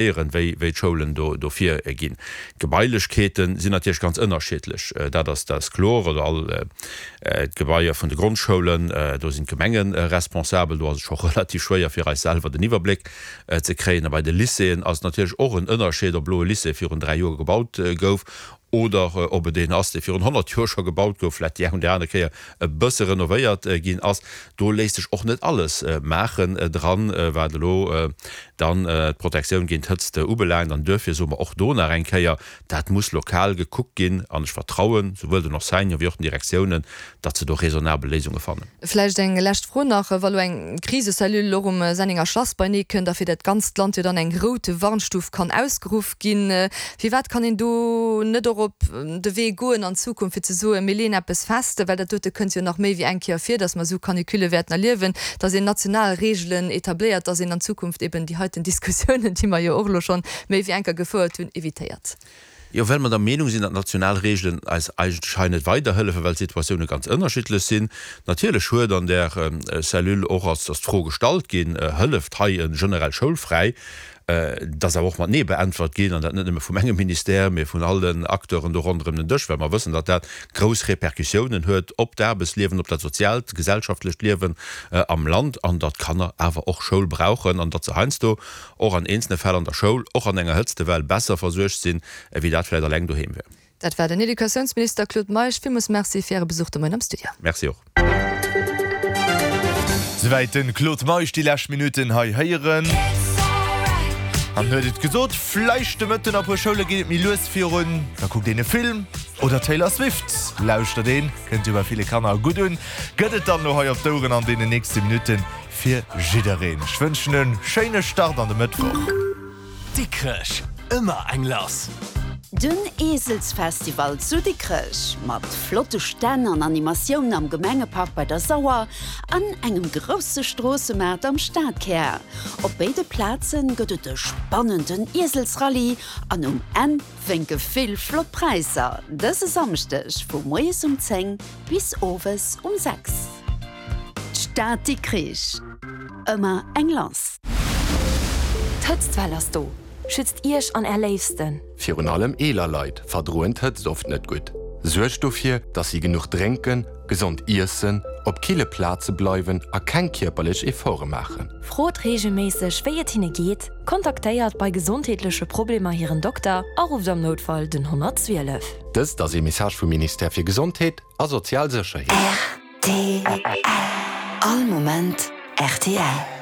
Wéi d'Schoulen do virginn. D'Gebailechkeete sinn natierlech ganz ënnerschiddlech, dat ass dat ass kloer. Oder all d'Gebaier vun de Grondschoulen, do sinn d'Gemenge responsabel. Do ass et scho relativ schwéier fir eis selwer den Iwwerbléck ze kréien. A bei de Lycéeën ass et natierlech och en Ënnerscheed, ob elo e Lycée virun 3 Joer gebaut gouf oder ob et een ass, dee virun 100 Joer scho gebaut gouf, vläicht déi eng oder aner Kéier e bësse renovéiert ginn ass. Do léisst sech och net alles maachen dran, wat elo dann d'Protektioun géint Hëtzt ubelaangt. An duerfir soe mer och do nach eng Kéier, dat muss lokal gekuckt ginn. An ech vertrauen souwuel den Enseignanten wéi och den Direktiounen, datt se do raisonnabel Léisunge fannen. Vläicht eng lescht Fro nach, Wa lo eng Krisecellule och um Sennenger Schlass beinee kënnt a fir dat ganzt Land jo dann eng rout Warnstuf kann ausgeruff ginn, firwat kann een do net och op de Wee goen an Zukunft fir ze soen, mir leeën eppes fest, well dat dote kënnt jo nach méi wéi eng Kéier vir, datt mer esou Canicule wäerten erliewen, datt een national Reegelen etabléiert, datt een an Zukunft eben déi heiten Diskussiounen, déi mer jo och elo schonn méi wéi eng Kéier gefouert hunn, evitéiert? Jo, well mer der Meenung sinn, datt national Reegelen eis eigentlech hei net weiderhëllefen, well d'Situatioune ganz ënnerschiddlech sinn. Natierlech huet an där Cellule och ass d'Fro gestallt ginn, Hëlleft hei e generell schoulfräi? Dat ass awer och mat Nee beäntwert ginn, an dat net nëmme vum engem Ministère, mee vun all den Acteuren do ronderëm den Dësch, well mer wëssen, datt dat grouss Repercussiounen huet op d'Aarbechtsliewen, op dat soziaalt, gesellschaftlecht Liewen am Land, an datt d'Kanner awer och Schoul brauchen an datt se heiansdo och an eenzelne Fäll an der Schoul, och an enger Hëtztewell, besser versuergt sinn, ewéi dat vläicht alleng doheem wär. Dat war den Educatiounsminister Claude Meisch. Villmools Merci fir Äre Besuch de Moien am Studio. Merci och. Souwäit den Claude Meisch. Déi lescht Minutten hei héieren. An huet et gesot, vläicht de Mëtten a puer Schoule geet et méi lues virun. Da kuckt een e Film oder Taylor Swift lauschtert een. Kënnt jo bei ville Kanner gutt un. Gëtt et dann elo hei op d'Oueren an deenen nächste Minutten. Fir jiddereen. Ech wënschen en schéine Start an de Mëttwoch. Dikrech, ëmmer eng lass! Den Eeselsfestival zu Dikrech mat flotte Stänn an Animatioun am Gemengepark bei der Sauer an engem grousse Stroossemaart am Stadkär. Op béide Plaze gëtt et e spannenden Ieselsrallye an um Enn wénke vill flott Präisser. Dëse Samschdeg vu moies um 10 bis owes um 6. D'Stad Dikrich, ëmmer eng lass. D'Hëtztwell ass do! Schützt Iech an Är Léifsten! Virun allem eeler Leit verdroen d'Hëtzt oft net gutt. Suergt dofir, dass si genuch drénken, gesond iessen, op kille Plaze bleiwen a keng kierperlech Efforte maachen. Frot reegelméisseg, wéi et hinne geet, kontaktéiert bei gesondheetleche Problemer hiren Dokter a rufft am Noutfall den 112. Dëst ass ee Message vum Ministère fir Gesondheet a sozial Sécherheet. Rtl. All Moment rtl.